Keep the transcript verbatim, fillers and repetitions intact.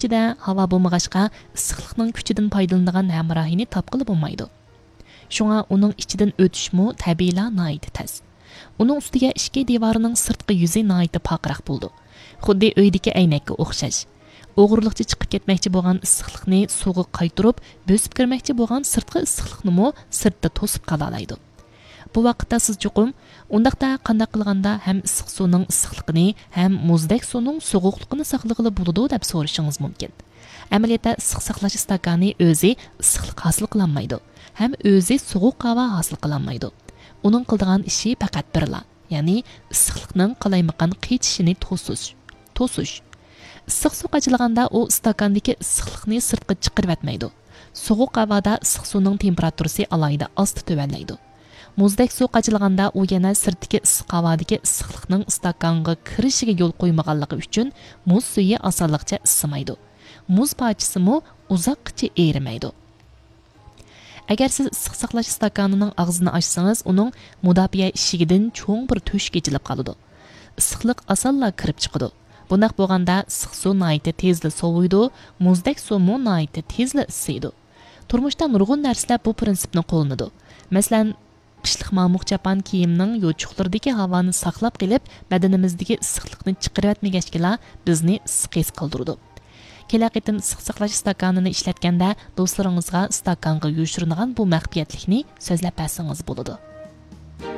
ئىچىدە ھاۋا بولمىغاچقا، ئىسسىقلىقنىڭ كۈچىدىن پايدىلىنىدىغان ھەمراھىنى تاپقىلى بولمايدۇ. شۇڭا ئۇنىڭ ئىچىدىن ئۆتۈشمۇ تەبىئىيلا ناھايىتى تەس. ئۇنىڭ ئۈستىگە ئىشىكى دىۋارىنىڭ سىرتقى يۈزى ناھايىتى پارقىراق بولىدۇ. خۇددى ئۆيدىكى ئەينەككە ئوخشاش. ئوغرىلىقچە چىقىپ كەتمەكچى بولغان ئىسسىقلىقنى سۇغا قايتۇرۇپ، بۆسۈپ كىرمەكچى بولغان سىرتقى ئىسسىقلىقنىمۇ سىرتتا توسۇپ قالالايدۇ. بۇ ۋاقىتتا سىز چوقۇم، «ئۇنداقتا قانداق قىلغاندا ھەم ئىسسىق سۇنىڭ ئىسسىقلىقىنى، ھەم مۇزدەك سۇنىڭ سوغۇقلۇقىنى ساقلىغىلى بولىدۇ؟» دەپ سورىشىڭىز مۇمكىن. ئەمەلىيەتتە ئىسسىق ساقلاش ئىستاكانى ئۆزى ئىسسىقلىق ھاسىل قىلالمايدۇ ھەم ئۆزى سوغۇق ھاۋا ھاسىل قىلالمايدۇ. ئۇنىڭ قىلىدىغان ئىشى پەقەت بىرلا، يەنى ئىسسىقلىقنىڭ قالايمىقان قېچىشىنى توسۇش. توسۇش. ئىسسىق سۇ قاچىلىغاندا ئۇ ئىستاكاندىكى ئىسسىقلىقنى سىرتقا چىقىرىۋەتمەيدۇ. سوغۇق ھاۋادا ئىسسىق سۇنىڭ تېمپېراتۇرىسى ئالاھىدە ئاستا تۆۋەنلەيدۇ. مۇزدەك سۇ قاچىلىغاندا ئۇ يەنە سىرتتىكى ئىسسىق ھاۋادىكى ئىسسىقلىقنىڭ ئىستاكانغا كىرىشىگە يول قويمىغانلىقى ئۈچۈن مۇز سۈيى ئاسانلىقچە ئىسسىمايدۇ. مۇز پارچىسىمۇ ئۇزاققىچە ئېرىمەيدۇ. ئەگەر سىز ئىسسىق ساقلاش ئىستاكانىنىڭ ئاغزىنى ئاچسىڭىز، ئۇنىڭ مۇداپىئە ئىشىكىدىن چوڭ بىر تۆشۈك ئېچىلىپ قالىدۇ. ئىسسىقلىق ئاسانلا كىرىپ چىقىدۇ. بۇنداق بولغاندا ئىسسىق سۇ ناھايىتى تېزلا سوۋۇيدۇ، مۇزدەك سۇمۇ ناھايىتى تېزلا ئىسسىيدۇ. تۇرمۇشتا نۇرغۇن نەرسىلەر بۇ پىرىنسىپنى قوللىنىدۇ. مەسىلەن، قىشلىق مامۇق چاپان كىيىمنىڭ يوچۇقلىرىدىكى ھاۋانى ساقلاپ قېلىپ، بەدىنىمىزدىكى ئىسسىقلىقنى چىقىرىۋەتمىگەچكىلا بىزنى ئىسسىق ھېس قىلدۇرىدۇ. كېلەر قېتىم ئىسسىق ساقلاش ئىستاكانىنى ئىشلەتكەندە، دوستلىرىڭىزغا ئىستاكانغا يوشۇرۇنغان بۇ مەخپىيەتلىكنى سۆزلەپ بەرسىڭىز بولىدۇ.